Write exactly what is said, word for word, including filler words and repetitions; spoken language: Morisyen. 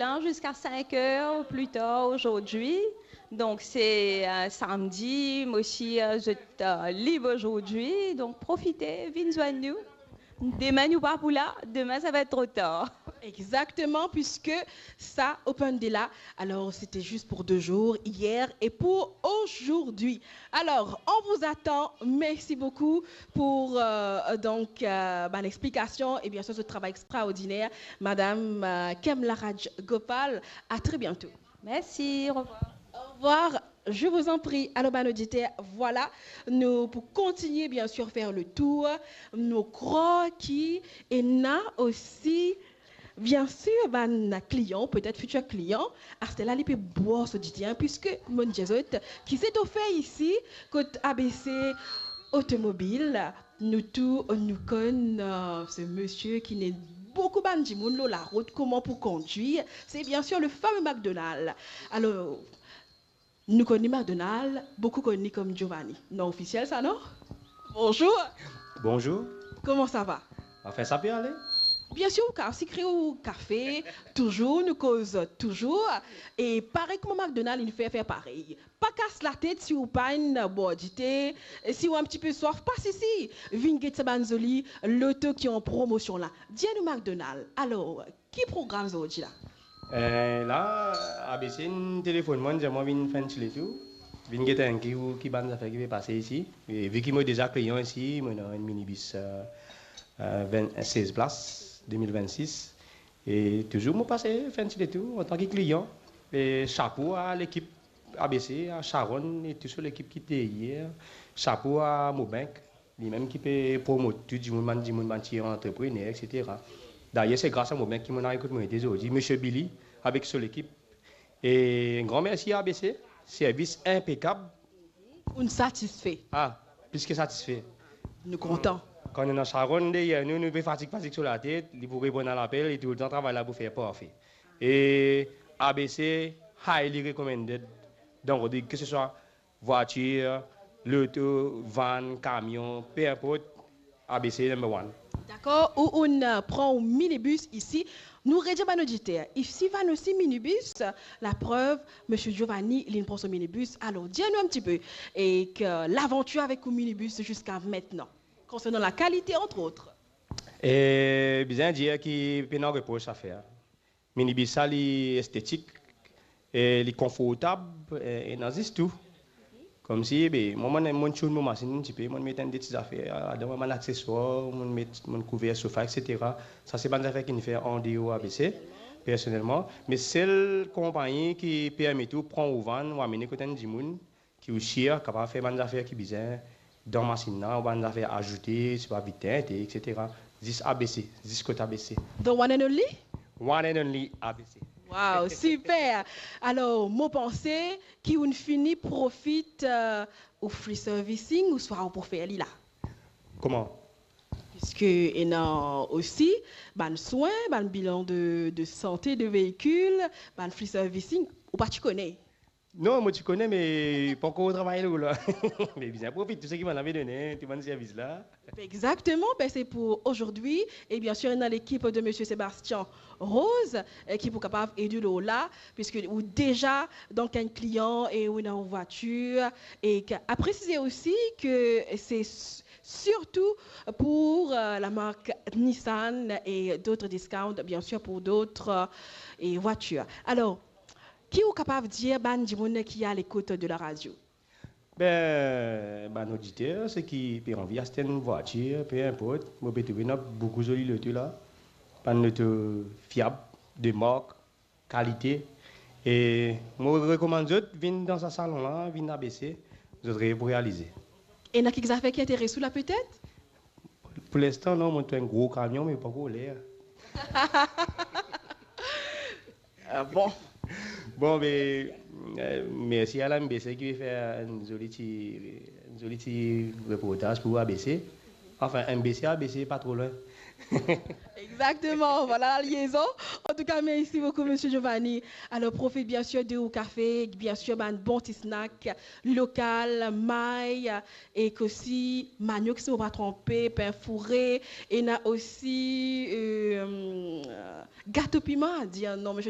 la ziska cinq heures plus tard aujourd'hui. Donc, c'est, euh, samedi, moi aussi, euh, je, euh, libre aujourd'hui. Donc, profitez, vinn zwenn nou. Demain, nou pa pou la. Demain, ça va être trop tard. Exactement, puisque ça open de là. Alors, c'était juste pour deux jours, hier et pour aujourd'hui. Alors, on vous attend. Merci beaucoup pour, euh, donc, euh, bann explication et bien sûr ce travail extraordinaire, Madame, euh, Kemla Rajgopal. À très bientôt. Merci, au revoir. Au revoir. Je vous en prie. Alors, bann oditer, voilà, nou pou kontinie, bien sûr, fer le tour. Nou krwar ki ena osi, bien sûr, bann klian, petet fitir klian, aster la li pe bwar so dite, hein, puisque monn dir zot ki se to fer isi, kot A B C Automobile, nou tou, nou konn, euh, se misie ki ena boukou bann dimoun lor larout, kouma pou kondwir, c'est bien sûr le fameux McDonald. Alors, nou konn li McDonald, boukou konn li kom Giovanni. Non ofisiel sa, non? Bonjour. Bonjour. Comment ça va? Anfin, sa pe ale. Bien sûr, ou kapav sikre ou kafe, touzour, nou koz touzour. E parey kouma McDonald, inn fer, fer parey. Pa kas latet si ou pa ena bwar dite, si ou enn tipe swaf, pa sisi, vinn get sa bann zoli loto ki an promosion la. Dir nou McDonald, alor, ki program zordi la? Eh, la, A B C inn telefonn mwa, inn dir mwa vinn fer enn ti letour, vinn get enn kou ki bann zafer ki pe pase isi. E vi ki mo deza klian isi, mo ena enn minibis, eh, eh, vin, sez plas, de mil vennsis. E touzour mo pase fer enn ti letour antan ki klian. E sapo a lekip A B C, a Sharon e tou so lekip ki deryer. Sapo a Mobank, limem ki pe promot tou dimoun, bann dimoun, bann ti antreprener, et cetera. Dayer, se gras a Mobank ki mo'nn ariv kot mo ete zordi, Misie Billy avek so lekip. E enn gran mersi A B C, servis inpekab. Ou'nn satisfe? Ah, plis ki satisfe. Nou kontan. Kan nou ena Sharon deryer nou, nou pe fatig, fatig so latet, li pou reponn a lapel, li toultan travay la pou fer parfe. E A B C, highly recommended. Donk, on dit que ce soit vwatir, loto, vann, kamion, pe inport, A B C number one. Dakor, ou, ou'nn, euh, pran ou minibis isi. Nou redir bann oditer, isi vann osi minibis, laprev, Misie Giovanni, li'nn pran so minibis. Alor, dir nou enn tipe, e ki lavantir avek ou minibis ziska aster, konsernan la kalite, entre autres. E bizin dir ki pena repros a fer. Minibis sa, li estetik, e li konfortab, e, ena zis tou. Koumsi, be, mwa, mo'nn, mo'nn tune mo masinn enn tipe, mo'nn met enn de ti zafer ladan, bann akseswar, mo'nn met, mo'nn kouver sofa, et cetera. Sa se bann zafer ki'nn fer andeor A B C, personelman. Me sel konpagni ki permet ou pran ou vann, ou amene kot enn dimoun, ki ou sir kapav fer bann zafer ki bizin dan masinn la, ou bann zafer azoute, sipa vit tente, et cetera. Zis A B C, zis kot A B C. The one and only? One and only A B C. Wow, super! Alor, mo panse ki ou'nn fini profit, euh, ou free servicing, ouswa ou pou fer li la? Kouma? Piske ena osi bann swin, bann bilan de, de sante de veikil, bann free servicing, ou pa ti kone? Non, mo ti kone, me pankor travay lor la. Me bizin profit tou seki bann la pe done, tou bann servis la. Exactement, ben c'est pour aujourd'hui. Et bien sûr, ena lekip de Monsieur Sébastien Rose, euh, ki pou kapav ed ou lor la, puisque ou deza, donk, enn klian e ou ena ou vwatir. E ki, a presize osi ki se s-, surtout pour, euh, la marque Nissan et d'autres discounts, bien sûr, pour d'autres, euh, et voitures. Alors, ki ou kapav dir bann dimoun ki a lekout de la radio? Ben, bann oditer, seki pe anvi aste enn vwatir, pe inport, mo pe trouve ena boukou zoli loto la. Bann loto fiab, de mark, kalite. E mo rekomann zot vinn dan sa salon la, vinn A B C, zot rev pou realize. Ena kiksoz ki interes ou la, petet? Pou linstan, non, mo trouv enn gro kamion, me pankor ler. Ah bon? Bon, be, euh, mersi a la M B C ki fer enn zoli ti, enn zoli ti reportaz pou A B C. Anfin, M B C, A B C pa tro lwin. Exactement, voilà la liaison. En tout cas, merci beaucoup, Monsieur Giovanni. Alors, profite bien sûr de ou café, bien sûr, bann bon ti snack local, may, ek osi manioc, si mo pa tronpe, pain fourré, ena osi, euh, gato piman, dir non, Monsieur